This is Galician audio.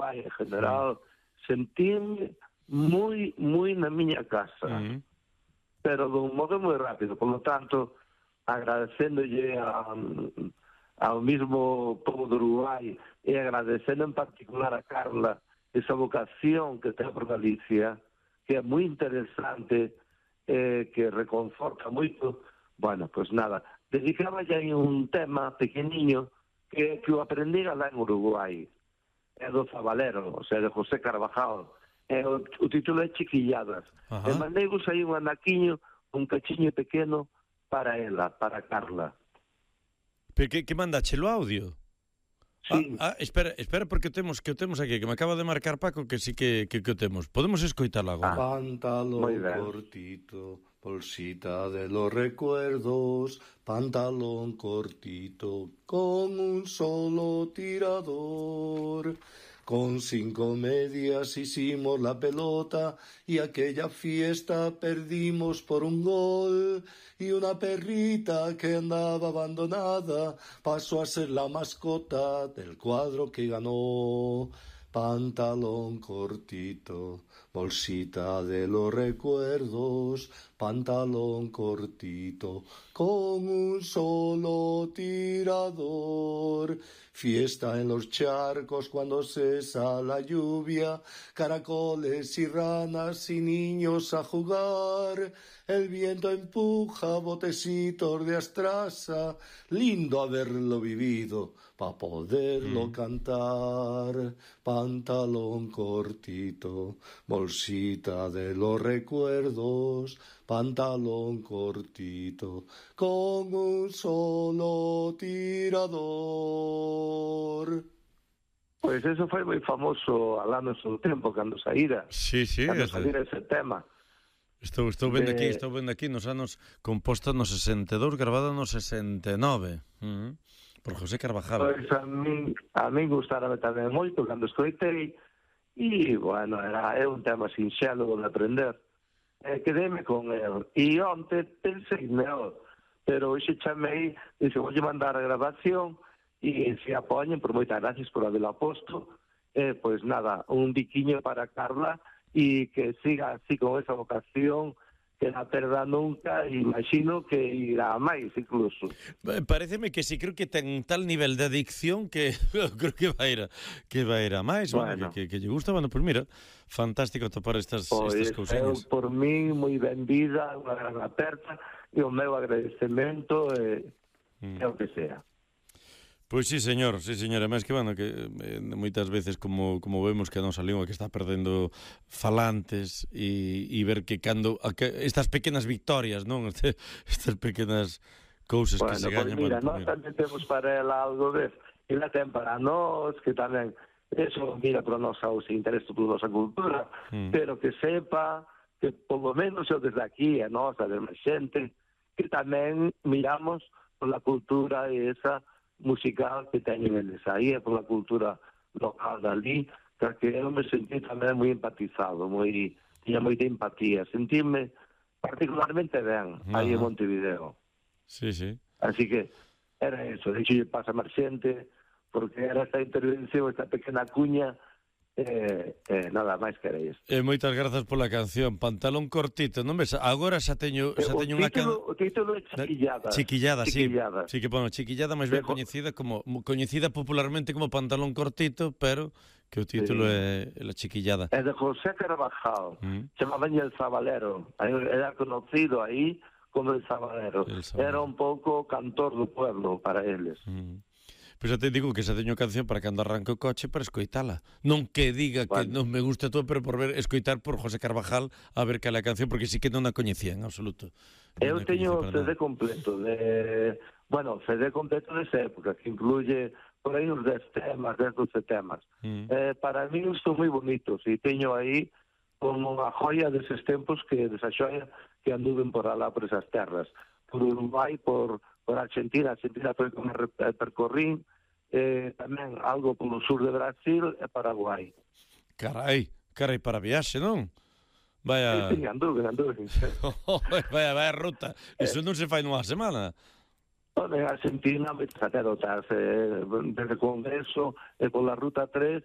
Uruguai en general, sentíme moi na miña casa, pero dun modo moi rápido. Por lo tanto, agradecéndolle ao mismo povo de Uruguai e agradecendo en particular a Carla esa vocación que ten por Galicia, que é moi interesante, que reconforta moito. Bueno, pues nada, dedicaba ya un tema pequeniño que o aprendí lá en Uruguai, é do Zabalero, o sea, de José Carvajal. O título é Chiquilladas. E mandei-vos aí un anaquiño, un cachiño pequeno para ela, para Carla. Pero que mandache o audio? Sí. Espera, porque o temos aquí, que me acaba de marcar Paco, que sí que o temos. Podemos escoitalo agora. Pantalón cortito, bolsita de los recuerdos, pantalón cortito, con un solo tirador. Con 5 medias hicimos la pelota y aquella fiesta perdimos por un gol. Y una perrita que andaba abandonada pasó a ser la mascota del cuadro que ganó. Pantalón cortito, bolsita de los recuerdos, pantalón cortito, con un solo tirador. Fiesta en los charcos cuando cesa la lluvia, caracoles y ranas y niños a jugar. El viento empuja botecitos de astraza, lindo haberlo vivido pa' poderlo cantar. Pantalón cortito, bolsita de los recuerdos, pantalón cortito, con un solo tirador. Pois eso foi moi famoso alá no seu tempo, cando saíra. Sí, cando saíra ese tema. Estou vendo aquí nos anos, composta no 62, gravada no 69, por José Carvajal. Pois a min gustárame tamén moito cando escoitei, e, bueno, é un tema sinxelo de aprender. Quedéme con el. E onte pensei neo, pero hoxe chamei, dixo, voulle mandar a grabación, e se apoñen, por moitas gracias por haberlo posto, pois nada, un biquiño para Carla, e que siga así con esa vocación, que non perda nunca, e imagino que irá máis incluso. Pareceme que sí, creo que ten tal nivel de adicción que creo que vai ir a máis, bueno. que lle gusta. Bueno, pues mira, fantástico topar estas cousiñas. Por mí, moi ben vida, unha gran aperta, e o meu agradecemento é o que sea. Pois sí, señor, además que, bueno, que moitas veces como vemos que a nosa lingua que está perdendo falantes e ver que cando estas pequenas victorias, non? Estas pequenas cousas que se gañan. Pois mira, nós tamén temos para ela algo de, e la ten para nós, que tamén, eso mira para nós aos intereses por nosa cultura, pero que sepa que polo menos eu desde aquí, a nosa, a demais xente, que tamén miramos por la cultura e esa musical que teñen eles aí, e pola cultura local dali, que eu me sentí tamén moi empatizado, tiña moita empatía, sentíme particularmente ben aí en Montevideo. Sí. Así que era eso, de hecho lle pasa máis xente, porque era esta intervención, esta pequena cuña, nada máis que era isto. Moitas grazas pola canción, Pantalón cortito, non ves? Agora xa teño unha canción. O título é Chiquillada. Chiquillada, sí. Sí, que bueno, Chiquillada máis ben coñecida popularmente como Pantalón cortito, pero que o título é La Chiquillada. É de José Carvajal. Chamaban el Zabalero. Era conocido aí como el Zabalero. Era un pouco cantor do pueblo para eles. Pois xa te digo que xa teño canción para cando arranque o coche para escoitala. Non que diga que non me gusta todo, pero por escoitar por José Carvajal a ver cal é a canción, porque sí que non a coñecía en absoluto. Eu teño o CD completo CD completo desa época, que incluye por aí uns 10 temas, 10, 12 temas. Para mí son moi bonitos, e teño aí como unha joia deses tempos, desa xoia que anduven por alá, por esas terras. Por Uruguai, por Argentina foi como percorrín, tamén algo polo sur de Brasil e Paraguai. Carai, para viaxe, non? Vaya... Sí, anduve. Vaya ruta. Iso non se fai nunha semana. En Argentina, moitas anécdotas, desde o Congreso e pola Ruta 3,